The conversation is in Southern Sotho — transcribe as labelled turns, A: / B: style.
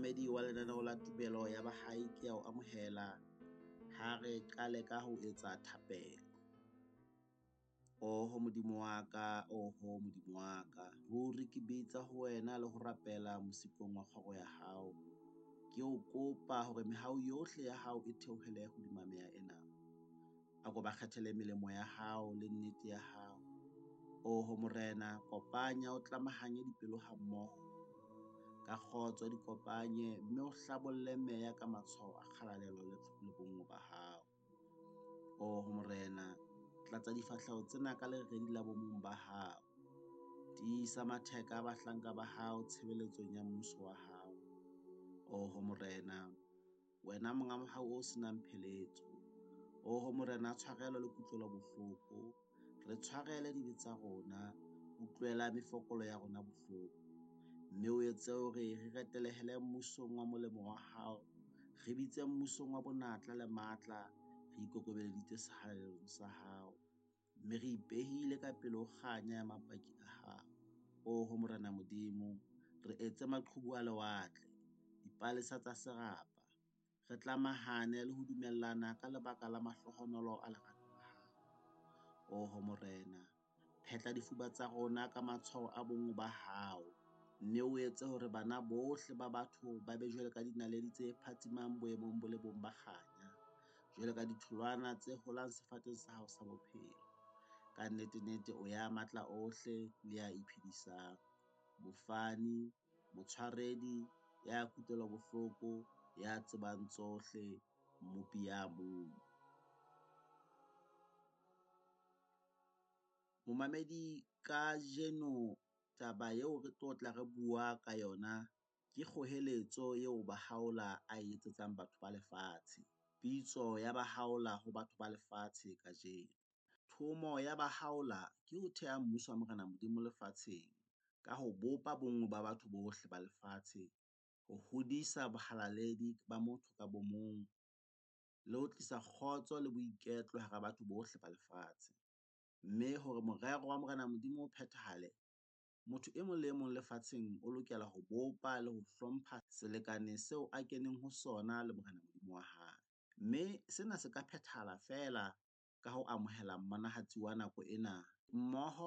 A: Momamedi wa lenaneo la tumelo ya bahai, ke ya o amohela ha re qale ka ho etsa thapelo. Oho Modimo wa ka, oho Modimo wa ka, ruri ke bitsa ho wena le ho rapela mosikong wa kgoro ya hao. Ke o kopa hore mehau yohle ya hao e theohele hodima meya ena. A ko ba kgethele melemo ya hao le nnete ya hao. Oho Morena, kopanya o tlamahanye dipelo ha mmoho ka kgotso, di kopanye mme o hlabolle meya ka matshwao a kgalalelo le bonngwe ba hao. Oho Morena, tlatsa difahleho tsena ka leredi la bomong ba hao. Tiisa matheka a bahlanka ba hao tshebeletsong ya mmuso wa hao. Oho Morena, wena monga mohau o senang pheletso. Oho Morena, tshwarelo le kutlwelo bohloko. Re tshwarele dibe tsa rona, utlwela mefokolo ya rona bohloko. Mme o etse hore re retelehele mmusong wa molemo wa hao, re bitse mmusong wa bonatla le matla, re ikokobeleditse sehalalelong sa hao. Mme re ipehile ka pele ho kganya ya mapaki a hao. Oho Morena Modimo, re etse maqhubu a lewatle, dipalesa tsa serapa, re tlamahane le ho dumellana ka lebaka la mahlohonolo a lerato la hao. Oho Morena, phetla difuba tsa rona ka matshwao a bonngwe ba hao, mme o etse hore bana bohle ba batho ba be jwalo ka dinaledi tse phatsimang boemong bo le bong ba kganya, jwalo ka ditholwana tse holang sefateng sa hao sa bophelo. Ka nnete-nnete o ya matla ohle le ya iphedisang, mofani, motshwaredi, ya kutlwelo bohloko, ya tsebang tsohle, Mmopi ya mong. Momamedi, kajeno taba eo re tlo tla re bua ka yona ke kgoeletso eo Bahaola a etsetsang batho ba lefatshe. Pitso ya Bahaola ho batho ba lefatshe kajeno. Thomo ya Bahaola ke ho theha mmuso wa Morena Modimo lefatsheng ka ho bopa bonngwe ba batho bohle ba lefatshe, ho hodisa bohalaledi ba motho ka bo mong, le ho tlisa kgotso le boiketlo hara batho bohle ba lefatshe. Mme hore morero wa Morena Modimo o phethahale, motho e mong le e mong lefatsheng o lokela ho bopa le ho hlompha selekane seo a keneng ho sona le Morena Modimo wa hae. Mme sena se ka phethahala feela ka ho amohela mmonahatsi wa nako ena mmoho.